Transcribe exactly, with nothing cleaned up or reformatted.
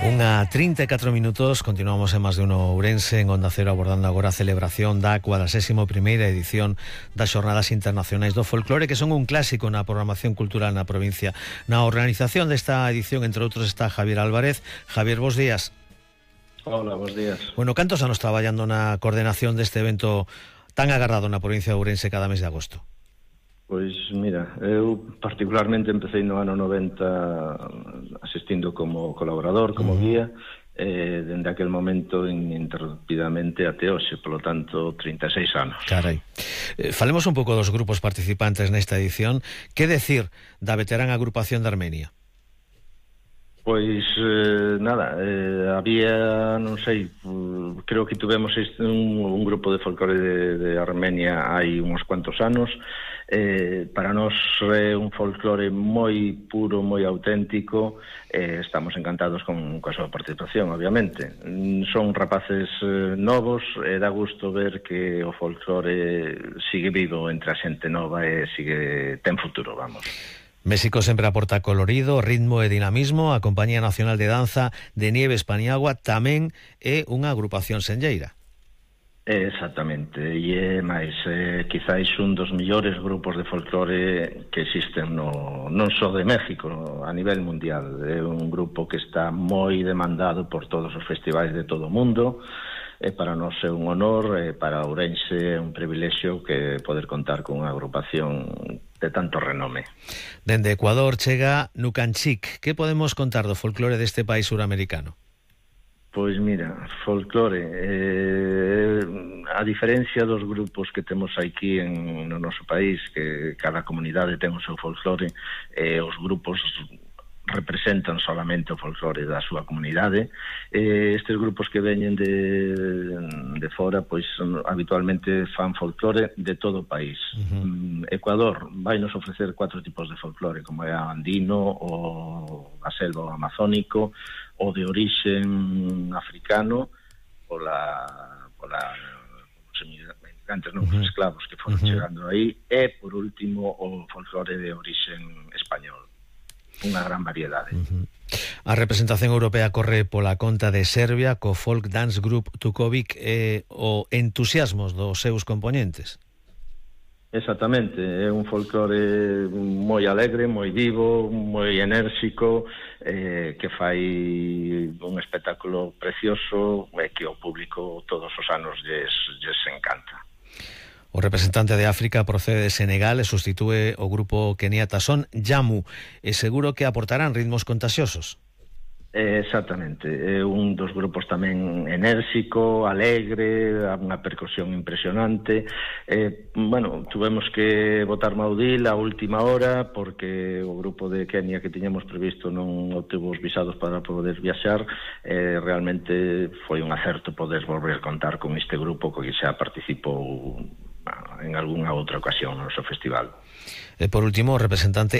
Unha trinta e catro minutos, continuamos en Más de Uno Ourense, en Onda Cero, abordando agora a celebración da cuadragésima primeira edición das Xornadas Internacionais do Folclore, que son un clásico na programación cultural na provincia. Na organización desta edición, entre outros, está Javier Álvarez. Javier, bos días. Hola, bos días. Bueno, cantos anos traballando na coordenación deste evento tan agardado na provincia de Ourense cada mes de agosto? Pois mira, eu particularmente empecé no ano noventa asistindo como colaborador, como uh-huh. guía, eh, dende aquel momento ininterrumpidamente até hoxe, polo tanto, trinta e seis anos. Carai. Eh, falemos un pouco dos grupos participantes nesta edición. Que decir da veterana agrupación de Armenia? Pois, eh, nada, eh, había, non sei, creo que tuvemos este, un, un grupo de folclore de, de Armenia hai uns cuantos anos. Eh, para nós é un folclore moi puro, moi auténtico, eh, estamos encantados con, con a súa participación, obviamente. Son rapaces eh, novos, e dá gusto ver que o folclore sigue vivo entre a xente nova e sigue ten futuro, vamos. México sempre aporta colorido, ritmo e dinamismo. A Compañía Nacional de Danza de Nieves Paniagua tamén é unha agrupación senlleira. Exactamente, e é máis, eh, quizáis un dos millores grupos de folclore que existen no, non só de México, no, a nivel mundial. É un grupo que está moi demandado por todos os festivais de todo o mundo, e para nós é un honor, e para Ourense é un privilexio que poder contar con unha agrupación de tanto renome. Dende Ecuador chega Nucanchic. Que podemos contar do folclore deste país suramericano? Pois mira, folclore, eh, a diferencia dos grupos que temos aquí en, no noso país, que cada comunidade ten o seu folclore, eh, os grupos representan solamente o folclore da súa comunidade. Eh, estes grupos que veñen de, de fora, pois habitualmente fan folclore de todo o país. Uh-huh. Ecuador vai nos ofrecer cuatro tipos de folclore, como é o andino, o a selva amazónico, o de orixen africano, pola, pola os emigrantes, non, os esclavos que foron uh-huh. chegando aí, e por último o folclore de orixen español. Unha gran variedade. Uh-huh. A representación europea corre pola conta de Serbia co folk dance group Tukovic e o entusiasmos dos seus componentes. Exactamente, é un folclore moi alegre, moi vivo, moi enérxico, eh, que fai un espectáculo precioso e que o público todos os anos lles, lles encanta. O representante de África procede de Senegal e sustitúe o grupo keniata Son Jamu, e seguro que aportarán ritmos contagiosos. Exactamente, é un dos grupos tamén enérxico, alegre, unha percusión impresionante. Eh, bueno, tuvemos que botar Maudil a última hora porque o grupo de Kenia que tiñamos previsto non obtivo os visados para poder viaxar. Eh, realmente foi un acerto poder volver a contar con este grupo que xa participou en algunha outra ocasión no noso festival. E por último, o representante